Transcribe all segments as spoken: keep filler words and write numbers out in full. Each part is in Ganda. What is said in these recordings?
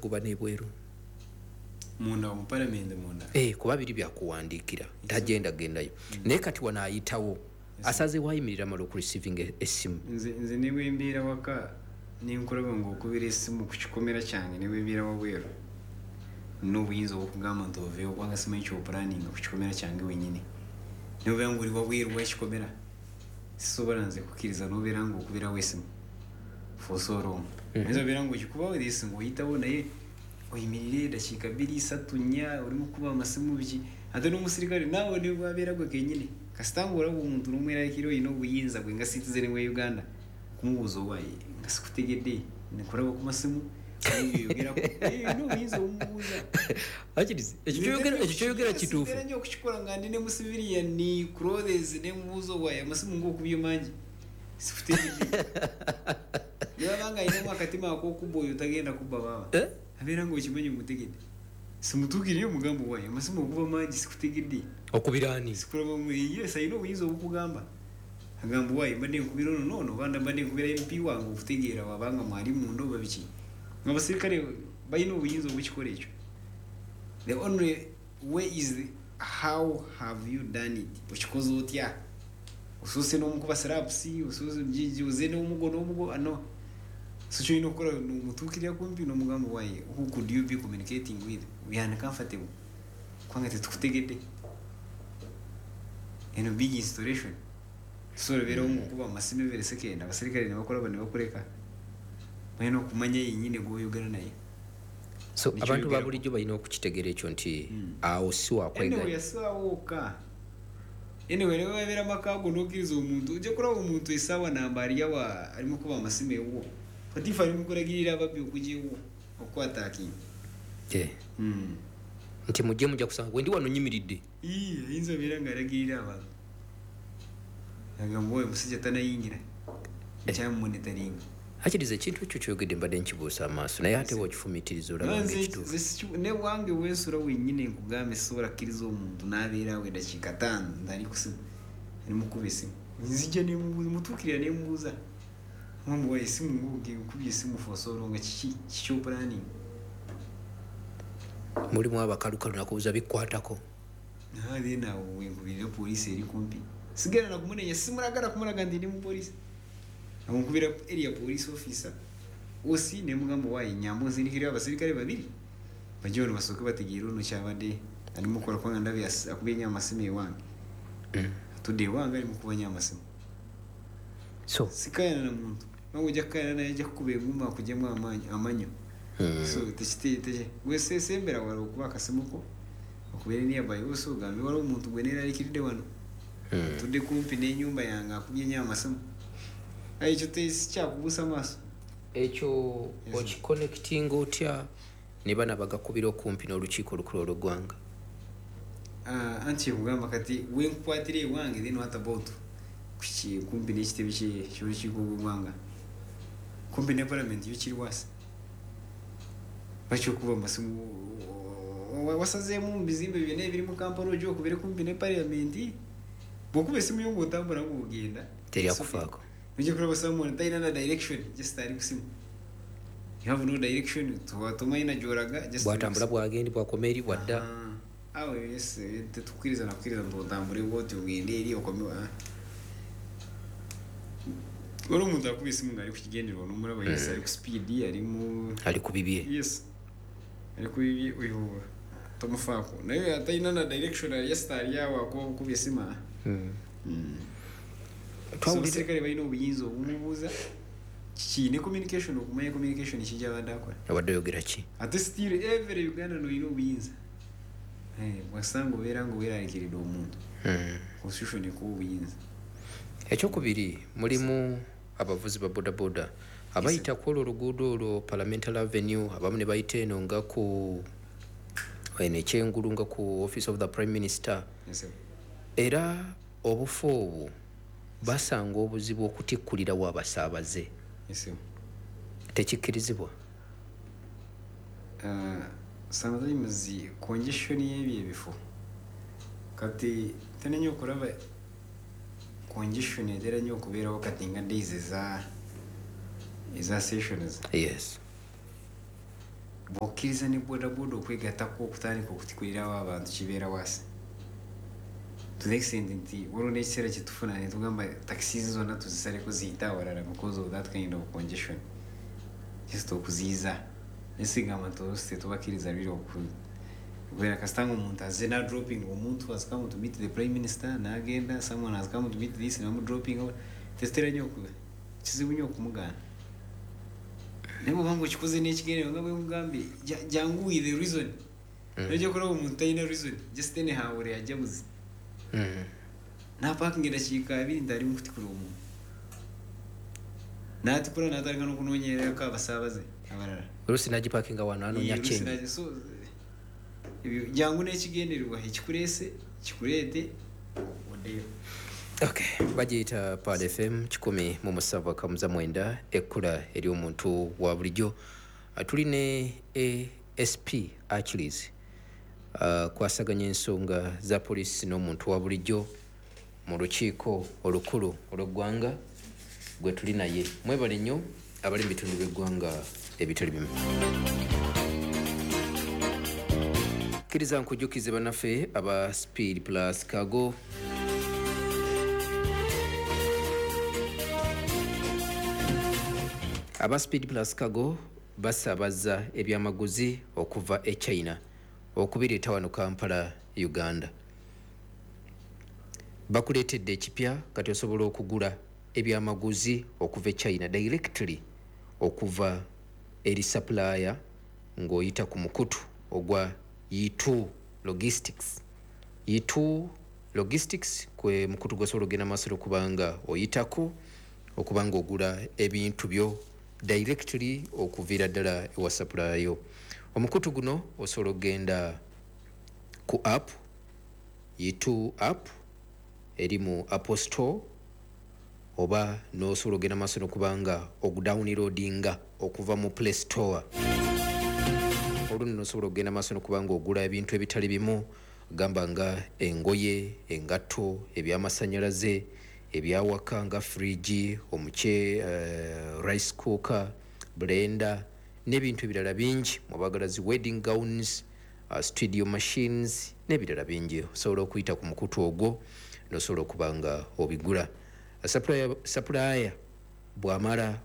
okugoba n'ebweru. Munda mu palamenti munda? Eh, kuba biri byakuwandiikira, tagenda gendayo. Naye kati wano ayitawo, asaze wayimirira, amala okureceiving essimu. Nze nze ne bwe mbeera waka nenkulaba ng'okubira essimu ku kikomera kyange, ne bwe mbeera wabweru, nina obuyinza obwokugamba nti oveewo, kubanga simanyi kyopulaninga ku kikomera kyange wenyini. Nobeera ngaoli wabweru w'ekikomera, sisobola nze kukkiriza nobeera ng'okubirawo essimu for so long. Oyinza obeera ng'okikubawo this ng'oyitawo, naye oyimirire dakiika bbiri, satu, nnya, olimu kukuba amasimu biki? Ate n'omusirikale naawe ne bwabeera gwe kenyini, kasita ng'olaba omuntu n'omweraliikirira, olina obuyinza gwe nga citizen wa Uganda kumubuuza, "Owaaye, nga sikutegedde, nkulaba ku masimu, oyogerako." Olina obuyinza obumubuuza. Akirizi, ekyo kyoyogera ekyo kyoyogera kituufu. Mbeera nnyo okukikola nga ndi ne mu civilian clothes, nemubuuza, "Owaaye, amasimu ng'okubye mangi, sikutegedde." Nebaba nga alinamu akatima ak'okubba, oyo tagenda kubba baaba. Eh? Abeera nga okimanyi omutegedde, simutuukiriyo omugambo, "Waaye, amasimu okuba mangi, sikutegedde." Okubira ani? Sikulaba. Yes, alina obuyinza obukugamba, agamba, "Waaye, mbadde nkubira ono noono, oba mbadde nkubira M P wange okutegeera wabanga mwali munda oba biki." Abasirikale balina obuyinza obukikola ekyo. The only way is the, how have you done it? Okikoze otya? Osoose n'omukuba slaps, osoose oze n'omugo n'omugo ano? So kyolina okukola, nomutuukirira kumpi n'omugamba, "Waaye, who could you be communicating with? We are uncomfortable kubanga tetukutegedde." Eno big installation, tusobola beerawo ngaokuba amasimu every second, abasirikale ne bakolaba ne bakuleka. Balina okumanya yenyini gwoyogera naye. So Nikyo abantu ba yogerako. bulijjo balina okukitegeera ekyo nti Mm. awo si Anyway, wakweganya. yasaawo wokka. Anyway, ne wabeera maka go n'okkiriza omuntu, ojja kulaba omuntu essaawa namba aliyawa alimu kuba amasimu ewuwo, katifu ali mukulagirira ababbi okujja ewuwo okukwataakinga. Eh, nti mujje, mujja kusanga bwe ndi wano nyimiridde. Ayinza obeera ng'alagirira abantu, agamba, "Oyo musajja tanayingira, nkyamumonitoringa." Akiriza, ekintu ekyo kyogedde mbadde nkibuusa amaaso, naye ate bw'okifumiitiriza olaba nga ekituufu. Ne wange wensula wennyini, nkugambe, sisobola kkiriza omuntu n'abeera awo eddakiika ttaano ntali kusimu, alimukuba esimu. Nzija nemubuuza, mutuukirira nemubuuza, mamba, "Esimu nkubye esimu for so long, kiki kikyopulaninga?" Mulimu abakalukalu nakubuuza bikwatako. Then awo wenkubirira poliisi eri kumpi, sigenda nakumunenya, simulagala kumulaga nti ndi mupoliisi. Awo nkubira area police officer osi, nemugamba, "Waayi, nyamba onsindikirira abasirikale babiri bajje wano basooke bategeere ono kyabadde alimukola, kubanga ndabye as- akubye nnyo amasimu ewange." Mm. Atudde ewange ali mukuba nnyo amasimu. So Sikayana na muntu, kubanga ojja kukayana naye ajja kukuba enguma akuggyemu amaanyi amanyo. Mm. So tekite gwesesembera wala okuba akasimu ko okubeera nearby, oso ogambe, "Waliwo omuntu gwe neeraliikiridde wano." Mm. Tudde kumpi n'enyumba yange, akubye nnyo amasimu. Aye ekyo tekyakubuusa maaso. Ekyo Yes. okiconnectinga otya ne bana bagakubira okumpi n'olukiiko olukulu olw'eggwanga? Ah, anti kyekugamba kati wenkukwatira ewange, then what about kuki kumpi n'ekitebe kye- ky'olukiiko lw'eggwanga, kumpi ne palamenti yo kiri wasi? Bakyokuba amasimu wa- wasazeemu mu bizimbe byonna ebiri mu Kampala, ojja okubere kumpi ne palamenti? Bw'okuba esimu yo ng'otambula ng'ogenda, Teri akufaako. Ojja kulaba someone talina na direction, just ali kusimu. You have no direction, tomanyi na gy'olaga, just Bwatambula bwagendi, bwakoma eri, bwadda. Ah, awo yes, tetukkiriza nakukkiriza nti otambule bwoti ogende eri okome. Ah. Waliwo omuntu akuba esimu ng'ali ku kigendererwa, n'omulaba, yes, ali ku speed, ali mu Ali ku bibye. Yes, ali ku bibye, oyo tomufaako, naye atalina na direction, just ali awo akuba bukuba esimu, ah. Mm. Mm. So Twawulira- abasirikale balina obuyinza obumubuuza kiki ne communication, okumanya communication kijja abadde akola. Obadde oyogera ki? Ate still every Uganda olina obuyinza. Eh, bwasanga obeera nga weeraliikiridde omuntu, Mm. constitution ekuwa obuyinza. Ekyokubiri, mulimu abavuzi ba bodaboda abayita ku olwo oluguudo olwo Parliamentary Avenue, abamu ne bayita eno nga ku eno ekyengulu nga ku Office of the Prime Minister. Yes, sir. Era obufo obwo basanga obuzibu okutikkulirawo abasaabaze. Yes, sir. Tekikkirizibwa? Uh, sometimes congestion y'ebyo ebifo, kati tena nnyo okulaba congestion etera nnyo okubeerawo kati nga days eza eza sessions. Yes. Bw'okkiriza ne bodaboda okwegattako okutandika okutikulirawo abantu kibeera waasi. To the extent nti waliwo n'ekiseera kye tufuna ne tugamba taxis zonna tuzisaleko ziyite awalala because of that kind of congestion. Just okuziyiza. Naye sigamba nti oluusi tetubakkiriza really okubeera kasita nga omuntu azze n'adropping omuntu has come to meet the prime minister n'agenda, someone has come to meet this ne bamudropping. Tetutera nnyo kizibu nnyo okumugaana. Naye bw'oba nga okikoze n'ekigendererwa nga bwe mugambye jangu with the reason. Nojja kulaba omuntu talina reason, just anyhow ajja buzi. N'apaakinga eddakiika abiri nti ali mu kutikula omuntu. N'atikula n'atandika n'okunoonyererako abasaabaze abalala. Oluusi n'agipaakinga wano anoonya change. So ebyo jangu n'ekigendererwa ekikuleese kikuleete oddeyo. Okay, bagiyita Pearl F M kikumi mu musanvu akamuza mwenda ekkula ery'omuntu wa bulijjo. Tuli ne A S P Achilles uh, kwasaganya ensonga za poliisi n'omuntu wa bulijjo mu lukiiko olukulu olw'eggwanga gwe tuli naye. Mwebale nnyo abali mu bitundu by'eggwanga ebitali bimu. Kkiriza nkujjukize bannaffe aba Speed Plus Cargo. Aba Speed Plus Cargo basaabaza ebyamaguzi okuva e China okubireeta wano Kampala, Uganda. Bakuleetedde ekipya kati osobola okugula ebyamaguzi okuva e China directly okuva eri supplier ng'oyita ku mukutu ogwa E two Logistics. E two Logistics kwe mukutu gw'osobola okugenda maaso okubanga oyitako okubanga ogula ebintu byo directly okuviira ddala ewa supplier yo. Omukutu guno osobola okugenda ku app E two app eri mu Apple Store oba n'osobola okugenda maaso n'okubanga ogudownloadinga okuva mu Play Store. Olwo nno osobola okugenda maaso n'okubanga ogula ebintu ebitali bimu gamba nga engoye, engatto, ebyamasannyalaze, ebyawaka nga fridge, omuce, uh, rice cooker, blender n'ebintu ebirala bingi. Mwabagala zi wedding gowns, uh, studio machines n'ebirala bingi. Osobola okuyita ku mukutu ogwo n'osobola okuba nga obigula. Supplier, supplier bw'amala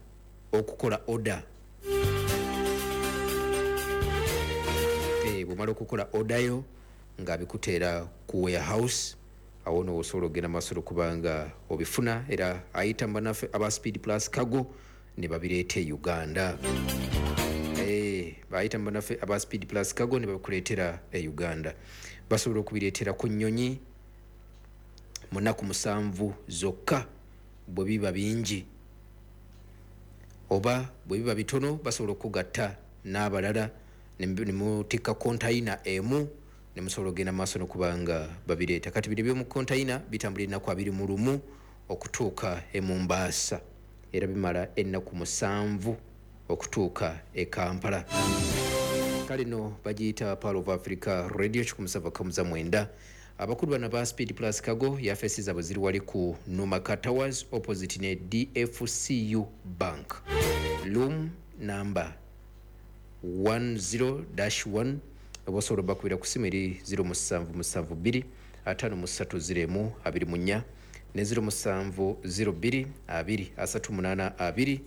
okukola order, eh, bw'amala okukola order yo ng'abikuteera ku warehouse, awo nno osobola okugenda maaso okubanga obifuna era ayita bannaffe aba Speed Plus Cargo ne babireeta e Uganda. Eh, bayita bannaffe aba Speed Plus Cargo ne babikuleetera e Uganda. Basobola okubireetera ku nnyonyi mu nnaku musanvu zokka bwe biba bingi oba bwe biba bitono basobola okugatta n'abalala ne mutikka kontayina emu ne musobola okugenda maaso n'okubanga babireeta. Kati bino eby'omu kontayina bitambula ennaku abiri mu lumu okutuuka e Mombasa era bimala ennaku musanvu okutuuka e Kampala. Kale nno bagiyita Pearl of Africa Radio kikumi musanvu akamuza mwenda. Abakulu bano ba Speed Plus Cargo yafesi zaabwe ziri wali ku Numaka Towers opposite ne D F C U Bank. Room number one zero dash one. Oba osobola obbakubira ku ssimu eri zero musanvu musanvu bbiri ataano mu ssatu zero emu abiri mu nnya ne zero musanvu zero bbiri abiri asatu munaana abiri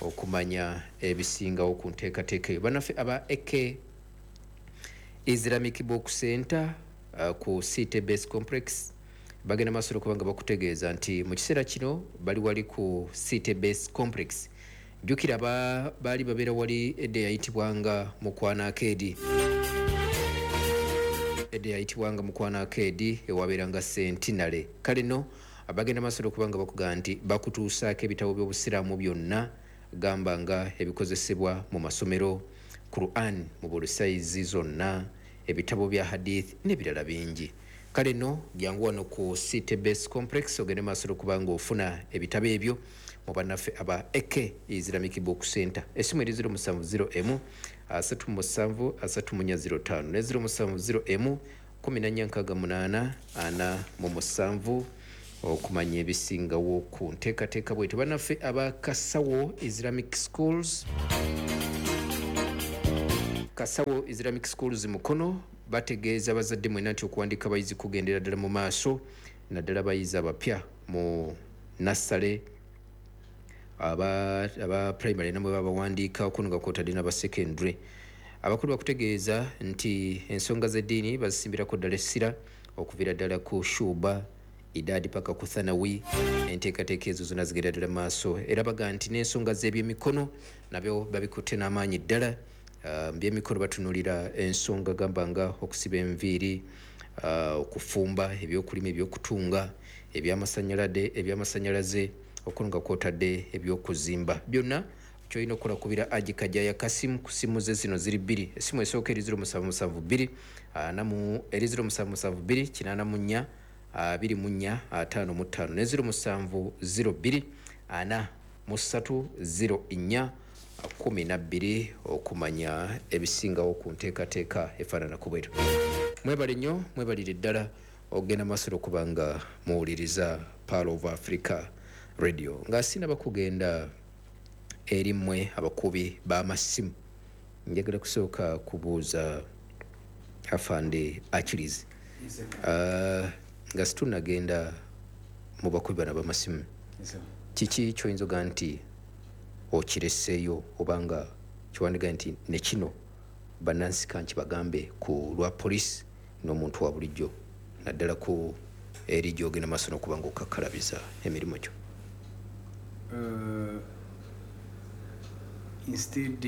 okumanya ebisingawo ku nteekateeka eyo. Bannaffe aba A K Islamic Book Center uh, ku City Base Complex bagenda maaso okubanga bakutegeeza nti mu kiseera kino bali wali ku City Base Complex. Jjukira baali babeera wali edda eyayitibwanga Mukwana Arcade. Edda eyayitibwanga Mukwana Arcade ewabeeranga Centenary. Kale nno abagenda maaso okubanga bakugamba nti bakutuusaako ebitabo by'obusiraamu byonna gamba nga ebikozesebwa mu masomero, Quran mu buli sayizi zonna, ebitabo bya hadith n'ebirala bingi. Kale nno jangu wano ku City Base Complex ogende maaso okubanga ofuna ebitabo ebyo mu bannaffe aba A K Islamic Book Center. Essimu eri zero musanvu zero emu asatu musanvu asatu mu nnya zero ttaano ne zero musanvu zero emu kumi na nnya nkaaga munaana ana mu musanvu okumanya ebisingawo ku nteekateeka bwetyo. Bannaffe aba Kasawo Islamic Schools Kasawo Islamic Schools Mukono bategeeza abazadde mwena nti okuwandiika abayizi kugendera ddala mu maaso, naddala abayizi abapya mu nassale, aba, aba primary namwe babawandiika okuno nga kwotadde n'aba secondary. Abakulu bakutegeeza nti ensonga z'eddiini bazisimbirako ddala essira okuviira ddala ku shuba idadi paka ku thanawi. Enteekateeka ezo zonna zigenda ddala maaso, era baga nti n'ensonga z'ebyemikono nabyo babikutte n'amaanyi ddala. Uh, mu byemikono batunuulira ensonga gamba nga okusiba enviiri, uh, okufumba, ebyokulima, ebyokutunga, ebyamasanyalaze ebyamasannyalaze okuno nga kwotadde ebyokuzimba. Byonna kyolina okukola kubira Aji Kajaya Kasimu ku simu ze zino ziri bbiri. Essimu esooka eri ziro musanvu musanvu bbiri ana mu eri ziro musanvu musanvu bbiri kinaana mu nnya abiri mu nnya ataano mu ttaano ne ziro musanvu ziro bbiri ana mu ssatu ziro nnya kumi na bbiri okumanya ebisingawo ku nteekateeka efaanana ku bweru. Mwebale nnyo, mwebalire ddala ogenda maaso okuba nga muwuliriza Pearl of Africa Radio. Nga sinaba kugenda eri mmwe abakubi b'amasimu, njagala kusooka kubuuza afande Achilles. Uh, nga situnagenda mu bakubi bano ab'amasimu, kiki ky'oyinza oga nti okireseeyo obanga kiwandiga nti ne kino bannansi kanki bagambe ku lwa poliisi n'omuntu wa bulijjo, naddala ku eri gy'ogenda maaso n'okuba nga okakkalabiza emirimu gyo? Uh, instead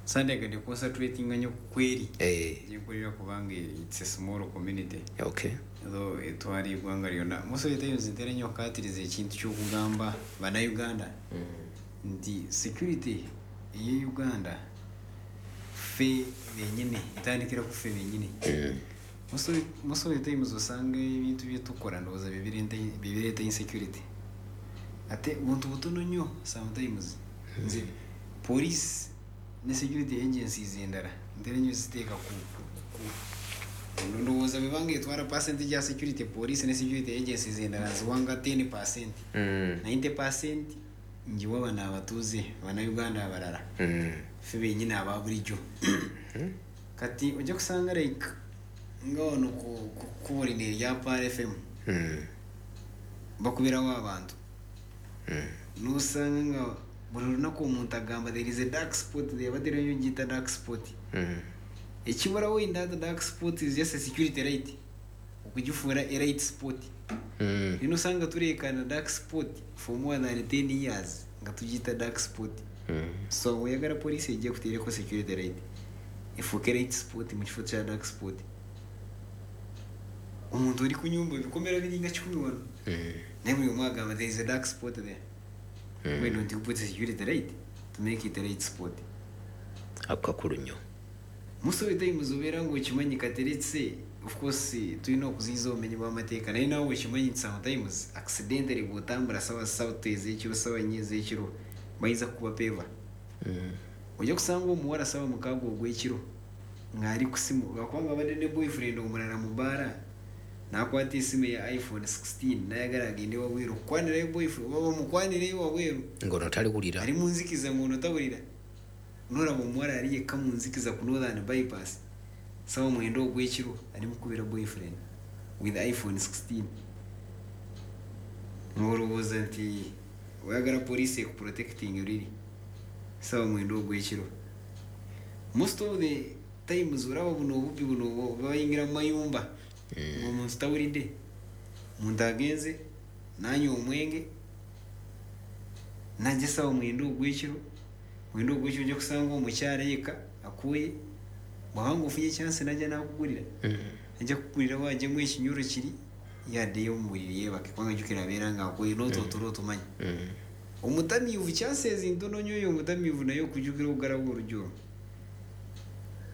sandyagadde concentratinga nnyo ku kweri Eh, gyenkolera kubanga it's a small community, okay though etwala eggwanga lyonna. Most of the times ntera nnyo okukaatiriza ekintu ky'okugamba bannayuganda nti security eye Uganda ffe bennyini, etandikira ku ffe bennyini. Most of- most of the times osanga ebintu byetukola ndowooza byebireeta- byebireeta insecurity, ate buntu butono nnyo. Sometimes nze police ne security agencies endala ntera nnyo ziteeka ku ku- ndowooza bwebanga etwala percentage ya security, police ne security agencies endala nziwanga ten percent, Mm. ninety percent ngiwa bano abatuuze bannayuganda abalala, Mm. ffe bennyini aba bulijjo. Kati ojja kusanga like nga wano ku ku kkubo lino erya Pearl F M Mm. bakubirawo abantu, Mm. nosanga nga buli lunaku omuntu agamba there is a dark spot there, batera nnyo giyita dark spot. Mm. Ekibulawo in that dark spot is just a security light okugifuura a light spot. Mm. Nino osanga tureekana dark spot for more than ten years nga tugiyita dark spot. Mm. So oyagala poliisi ejja kuteereko security light efuuke light spot mu kifo kya dark spot. Omuntu oli ku nyumba, ebikomera biringa kikumi wano, Mm. naye buli omu agamba there is a dark spot there. Mm. Why don't you put a security light to make it a light spot? Ako kakulu nnyo. Most of the times obeera ngaokimanyi kateretse. Of course tulina okuziyiza obumenyi bw'amateeka, naye nawe okimanyi nti sometimes accidentally bw'otambula sawa ssatu ez'ekiro, sawa nnya ez'ekiro, bayinza kukuba peva. Mm. Ojja kusanga omuwala sawa mukaaga ogw'ekiro ng'ali ku simu lwakubanga abadde ne boyfriend omulala mu bbaala, n'akwata esimu eya iPhone sixteen n'ayagala agende wabweru okukwanirayo boyfriend oba bamukwanireyo wabweru. Ng'ono taliwulira. Ali mu nzikiza ng'ono tawulira. Nolaba omuwala ali yekka mu nzikiza ku Northern Bypass sawa mwenda ogw'ekiro ali mukubira boyfriend with iPhone sixteen, ng'olowooza nti oyagala poliisi ekuprotecting riri sawa mwenda ogw'ekiro. Most of the times olaba buno obubbi buno bayingira mu mayumba ng'omuntu tawulidde, omuntu agenze nanywa omwenge najja sawa mwenda ogw'ekiro, mwenda ogw'ekiro ojja kusanga omukyala yekka akuye. Bw'abanga ofunye chance najja nakugulira, Mm. ajja kukugulirawo ajjemu ekinyolo kiri yaddeyo mu buliri yeebake, kubanga jjukira abeera nga akuye n'otootula otumanyi. Mm. Omutamiivu chances ntono nnyo oyo omutamiivu naye okujjukira okugalawo oluggi olwo.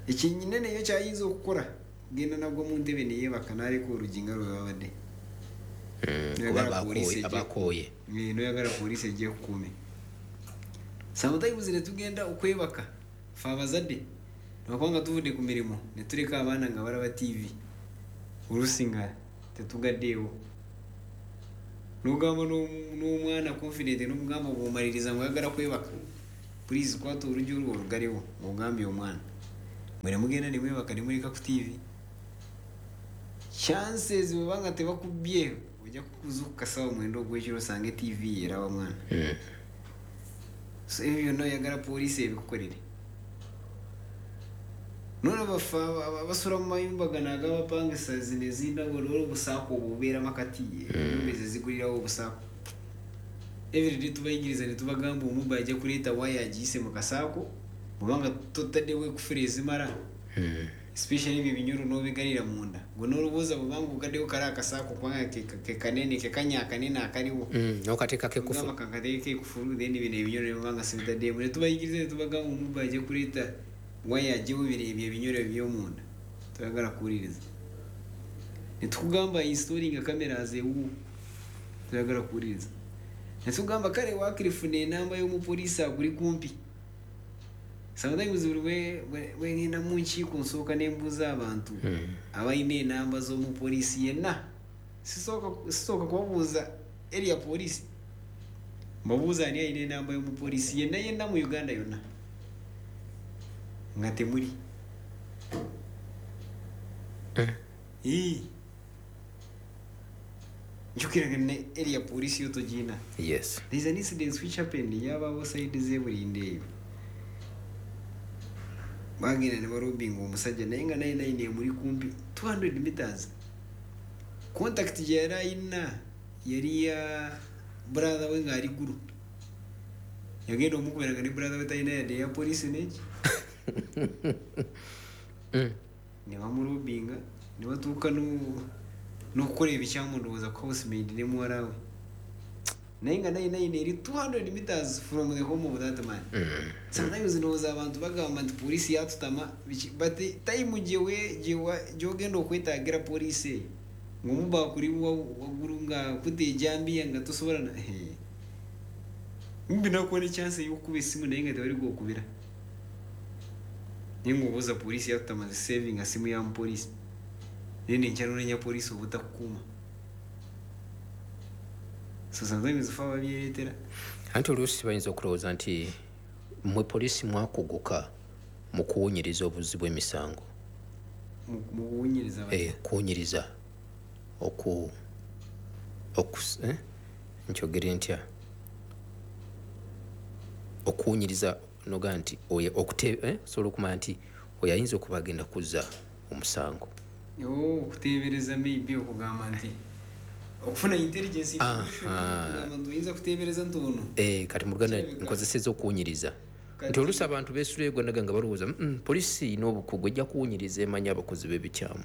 Ekinene yo kyayinza okukola genda nagwa mu ntebe neyeebaka n'aleka oluggi nga lwe babadde. Mm. Kuba Noyagala abakooye poliisi ejje- abakooye. Eh, noyagala poliisi ejje kukuume. Sometimes ne tugenda okwebaka fe abazadde lwakubanga tuvudde ku mirimu ne tuleka abaana nga balaba T V, oluusi nga tetugaddeewo, nogamba n'om- n'omwana confident nomugamba bw'omaliriza nga oyagala kwebaka, please kwata oluggi olwo olugalewo ng'ogambye omwana. Mwene mugenda ne mwebaka ne muleka ku T V. Chances bwebanga tebakubye ojja kuzuukuka ssaawa mwenda ogw'ekiro osange T V eraba mwana. Mm. So ebyo byonna oyagala poliisi ebikukolere. Nolaba ffe abasula mu mayumba gano ag'abapangisa zino ez'endawulo olwo obusaako obubeera makati, ennyumba ezo ezigulirawo obusaako. Everyday tubayigiriza ne tubagamba omubbi ajja kuleeta waya agiyise mu kasaako bw'obanga totaddewo ekufulu ezimala. Mm. Especially ebyo ebinyolo n'obigalira munda. Gwe n'olowooza bw'obanga ogaddewo kali akasaako kubanga ke, ke kanene, ke kanya akanene akaliwo. Mm, n'okateekako ekufulu. Ogamba kakateekeko ekufulu, then bino ebinyolo ne bibanga sibitaddemu. Ne tubayigiriza ne tubagamba omubbi ajja kuleeta waya aggyewo bino ebyo ebinyolo eby'omunda. Toyagala kuwuliriza. Ne tukugamba installing cameras ewuwo. Toyagala kuwuliriza. Ne tukugamba kale waakiri funa enamba y'omupoliisi akuli kumpi. Sometimes buli bwe, bwe, bwe ngenda mu nkiiko nsooka ne mbuuza abantu Mm. abalina enamba z'omupoliisi yenna. Sisooka, sisooka kubabuuza area police. Mbabuuza ani alina enamba y'omupoliisi yenna yenna mu Uganda yonna. Nga temuli. Mm. Ii. Njukira nga ne area police yo togina. Yes. There is an incident which happened yabawo side z'e Bulindi eyo. Bagenda ne barobinga omusajja naye nga naye naye emuli kumpi two hundred meters. Contact gye yali ayina yali ya brother we ng'ali Gulu. Yagenda omukubira nga ne brother we talina yadde eya police n'eki. Mm. Ne bamurobinga ne batuuka n'okukola ebikyamu ndowooza ku housemaid ne muwala we. Naye nga naye naye eri two hundred meters from the home of that man. Mm. Sometimes ndowooza abantu bagamba nti poliisi yatutama biki, but time gye gy'ogenda okwetaagira poliisi eyo ng'omubba akuli waggulu nga akutte ejjambiya nga tosobola na mbi nakuwa ne chance ey'okukuba essimu naye nga tewali gw'okubira. Naye ng'obuuza poliisi yatutama saving simu ya mupoliisi. Naye nenkyanoonya poliisi obutakukuuma. So sometimes ffe ababyereetera. Anti oluusi bayinza okulowooza nti mmwe poliisi mwakuguka mu kuwunyiriza obuzzi bw'emisango. Mu, mu kuwunyiriza batya? Eh, kuwunyiriza. Oku, oku, eh? Nkyogere ntya? Okuwunyiriza noga nti oyo okute, eh? Osobola okumanya nti oyo ayinza okuba agenda kuzza omusango. Oh, okuteebereza maybe okugamba nti okufuna intelligence information, okugamba nti oyinza kuteebereza nti ono. Eh, kati mu Luganda Kirabika. nkozesezza okuwunyiriza. Kati Nti oluusi abantu beesula eggwanga nga balowooza, mm, poliisi erina obukugu ejja kuwunyiriza emanya abakozi b'ebikyamu.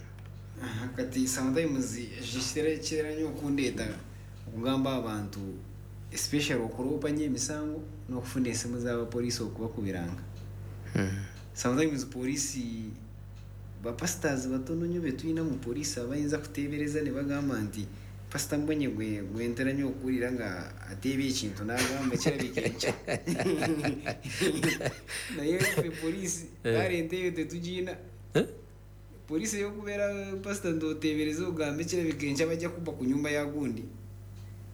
Aha, kati sometimes ekyo kitera nnyo okundeeta okugamba abantu especially okuloopa nnyo emisango n'okufuna essimu z'abapoliisi okubakubiranga. Hmm. Sometimes poliisi bapastors batono nnyo be tulina mu poliisi abayinza kuteebereza ne bagamba nti Pastor Mbonye gwe, gwe ntera nnyo okuwulira nga ateeba ekintu n'agamba kirabika enkya. Naye ffe poliisi Eh. talent eyo tetugiyina. Eh? Poliisi ey'okubeera pastor nd'oteebereza ogambe kirabika enkya bajja kubba ku nnyumba ya gundi.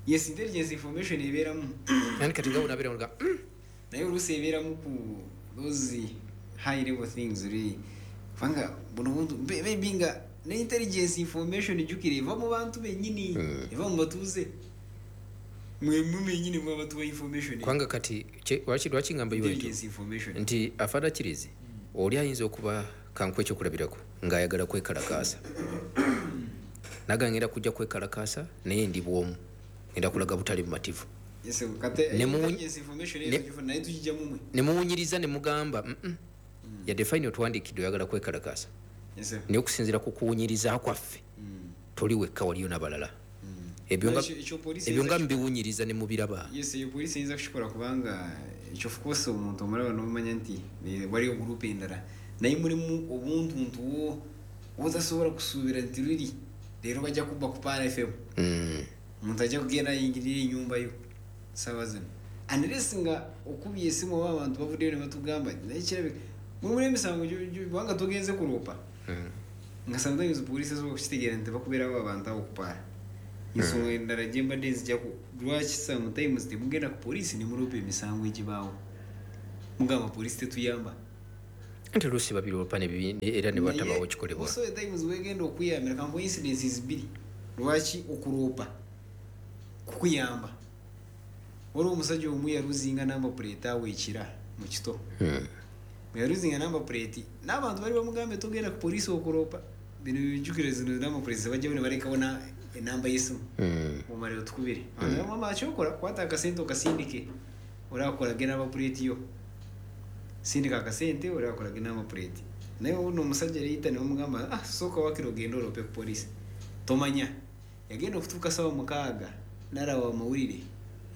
Yes, intelligence information ebeeramu. Ani kati nga bw'onabeera nga, mm. Naye oluusi ebeeramu ku those high level things really. Kubanga buno buntu, maybe nga ne intelligence information ejjukira eva mu bantu bennyini, Mm. eva mu batuuze. Mwe mwe bennyini mwe abatuwa information. Kubanga kati, kye, lwaki, lwaki ngamba iwe nti Intelligence information. Nti Afande Achilles, oli ayinza okuba kanku ekyokulabirako ng'ayagala kwekalakaasa. Naga ngenda kujja kwekalakaasa naye ndi bw'omu. Ngenda kulaga butali bumativu. Yes, kate Ne mu- intelligence information eyo ne- tugifuna, naye tugijja mu mwe. Ne muwunyiriza ne mugamba, mm, mm. Yadde fayini otwandiikidde oyagala kwekalakaasa. Yes, sir. Naye okusinziira ku kuwunyiriza kwaffe, Mm. toli wekka waliyo n'abalala. Mm. Ebyo nga Ekyo, ekyo poliisi ebyo nga eyinza mbiwunyiriza ne mubiraba. Yes, eyo poliisi eyinza kukikola kubanga ekyo of course omuntu omulaba n'omanya nti, eh, waliyo group endala. Naye mulimu obuntuntu bwo otasobola kusuubira nti luli leero bajja kubba ku P R F M. Mm. Omuntu ajja kugenda ayingirire ennyumba yo ssaawa zino. Unless nga okubye essimu oba abantu bavuddeyo ne batugamba naye kirabika mulimu n'emisango gyo-, gyo-, kubanga togenze kuloopa. Mm. Nga sometimes poliisi esobola okukitegeera nti bakubeerawo abantu awo okupaala. Ensonga endala gye mbadde nzija ku lwaki sometimes temugenda ku poliisi ne muloopa emisango egibaawo. Mugamba poliisi tetuyamba. Nti oluusi babiroopa era ne batabawo kikolebwa. So times wegenda okuyambira kanko incidences bbiri lwaki okuloopa kukuyamba. Waliwo omusajja omu yaluzinga number plate awo ekira mu kito. Hmm. Bwe yaluzinga number plate n'abantu bali bamugambe togenda ku poliisi okuloopa, bino bijjukire zino number plate bajjawo ne balekawo enamba y'essimu. Hmm. Omale otukubire. Abantu mama akyokola kwata akasente okasindike olaakolage number plate yo. Sindika akasente olaakolage number plate. Naye ono omusajja yayita ne bamugamba ah sooka wakiri ogende oloope ku poliisi. Tomanya yagenda okutuuka ssaawa mukaaga n'alaba amawulire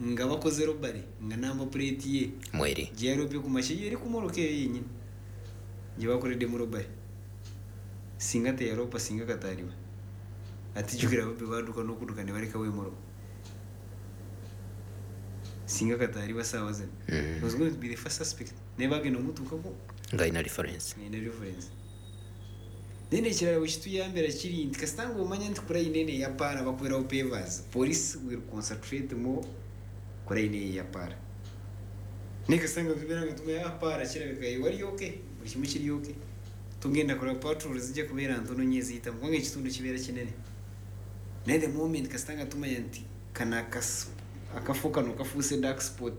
nga bakoze robbery nga number plate ye mweri gye yaloopye ku makya eri ku mmotoka eyo yennyini gye bakoleddemu robbery. Singa teyaloopa singa kataaliba. Ate jjukira ababbi baadduka n'okudduka ne balekawo emmotoka. Singa kataaliba ssaawa zino. Mm. Was going to be the first suspect. Naye bagenda omutuukako nga alina reference. Alina reference. Then ekirala bwe kituyambira kiri nti kasita ng'omanya nti ku line eno eya paara bakubeerawo pavers, police will concentrate more ku line eyo eya paara. Naye kasita nga tubeera nga tumanya ah paara kirabika wali okay, buli kimu kiri okay. Tugenda kulaba patrol zijja kubeera ntono nnyo eziyitamu kubanga ekitundu kibeera kinene. Naye the moment kasita nga tumanya nti kano akafo kano kafuuse dark spot,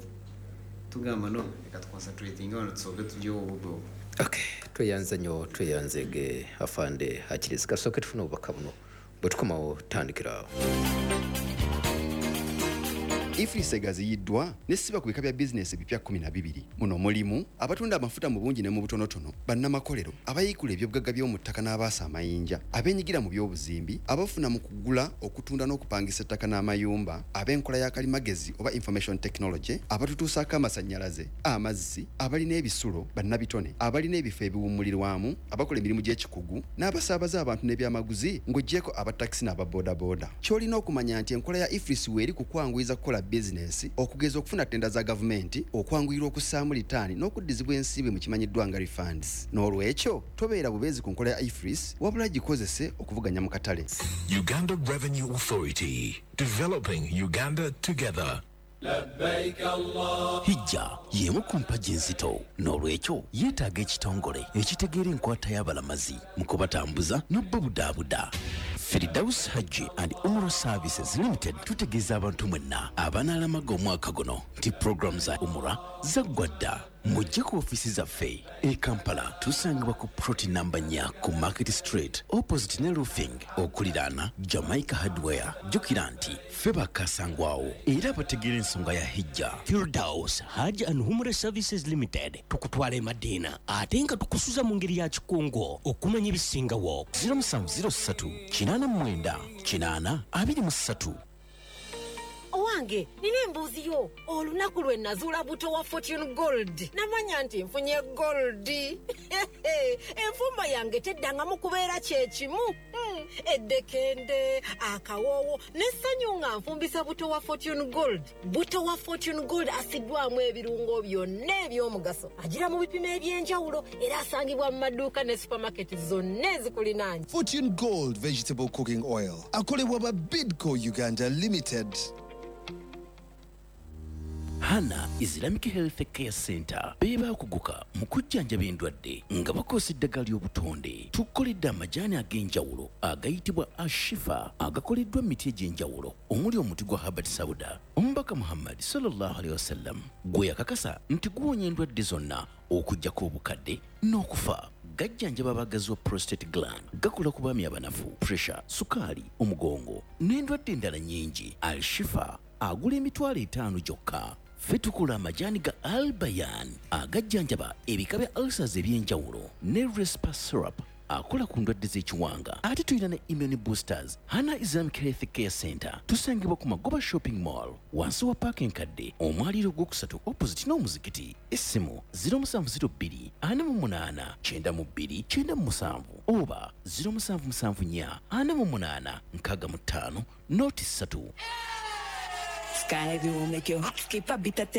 tugamba no leka tuconcentratinga wano tusooke tugyewo obubbi obwo. Okay, tweyanze nnyo tweyanzege afande Achilles. Kasooke tufune obubaka buno bwe tukomawo tutandikira awo. EFRIS egaziyiddwa n'essiba ku bika bya bizinesi ebipya kkumi na bibiri. Muno mulimu abatunda amafuta mu bungi ne mu butonotono, bannamakolero, abayiikula ebyobugagga by'omu ttaka n'abaasa amayinja, abeenyigira mu by'obuzimbi, abafuna mu kugula, okutunda n'okupangisa ettaka n'amayumba, ab'enkola ya kalimagezi oba information technology, abatutuusaako amasannyalaze, amazzi, abalina ebisulo, bannabitone, abalina ebifo ebiwummulirwamu, abakola emirimu gy'ekikugu, n'abasaabaza abantu n'ebyamaguzi ng'oggyeko abatakisi n'ababoodabooda. Ky'olina okumanya nti enkola ya EFRIS weeri ku kwanguyiza kukola bizinesi, okugeza okufuna ttenda za gavumenti, okwanguyirwa okussaamu litaani n'okuddizibwa ensimbi mu kimanyiddwa nga refunds. N'olwekyo tobeera bubeezi ku nkola ya EFRIS wabula gikozese okuvuganya mu katale. Uganda Revenue Authority, developing Uganda together. Hijja y'emu ku mpagi enzito, n'olwekyo yeetaaga ekitongole ekitegeera enkwata y'abalamazi mu kubatambuza n'obubudaabuda. Firdaus Hajji and Umrah Services Limited tutegeeza abantu mwenna abanaalamaga omwaka guno nti pulogulaamu za Umrah zaggwa dda. Mujje ku ofiisi zaffe e Kampala, tusangibwa ku plot namba nnya ku Market Street opposite ne Roofing okuliraana Jamaica Hardware. Jjukira nti ffe bakasangwawo era abategeera ensonga ya Hijja. Firdaus Hajj and Umrah Services Limited tukutwala e Madina ate nga tukusuza mu ngeri ya kikungo okumanya ebisingawo. zero musanvu zero ssatu kinaana mwenda kinaana abiri mu ssatu. Owange, nina embuzi yo. Olunaku lwe nazuula buto wa Fortune Gold. Namanya nti nfunye gold. Enfumba yange teddangamu kubeera kye kimu. Mm, eddekende, akawoowo, n'essanyu nga nfumbisa buto wa Fortune Gold. Buto wa Fortune Gold asiddwamu ebirungo byonna eby'omugaso. Agira mu bipimo eby'enjawulo era asangibwa mu maduuka ne supermarket zonna ezikulinaanye. Fortune Gold Vegetable Cooking Oil. Akolebwa ba Bidco Uganda Limited. Hana Islamic Health Care Center beebaakuguka mu kujjanjaba endwadde nga bakozesa eddagala ly'obutonde. Tukoledde amajaani ag'enjawulo agayitibwa Ashifa agakoleddwa mu miti egy'enjawulo omuli omuti gwa Habbat Sauda. Omubaka Muhammad sallallahu alaihi wasallam gwe yakakasa nti guwonya endwadde zonna okuggyako obukadde n'okufa. Gajjanjaba abagazi wa prostate gland, gakola ku baami abanafu, pressure, sukaali, omugongo n'endwadde endala nnyingi. Al-Shifa agula emitwalo etaano gyokka. Ffe tukola amajaani ga Albayan agajjanjaba ebika bya ulcers eby'enjawulo ne Respa syrup akola ku ndwadde z'ekiwanga. Ate tulina ne immune boosters. Hana Islamic Health Care Center tusangibwa ku Magoba Shopping Mall wansi wa paaka enkadde omwaliiro ogwokusatu opposite n'omuzikiti. Essimu zero musanvu zero bbiri ana mu munaana kyenda mu bbiri kyenda mu musanvu oba zero musanvu musanvu nnya ana mu munaana nkaaga mu ttaano noti ssatu. Sky will make your heart skip a beat at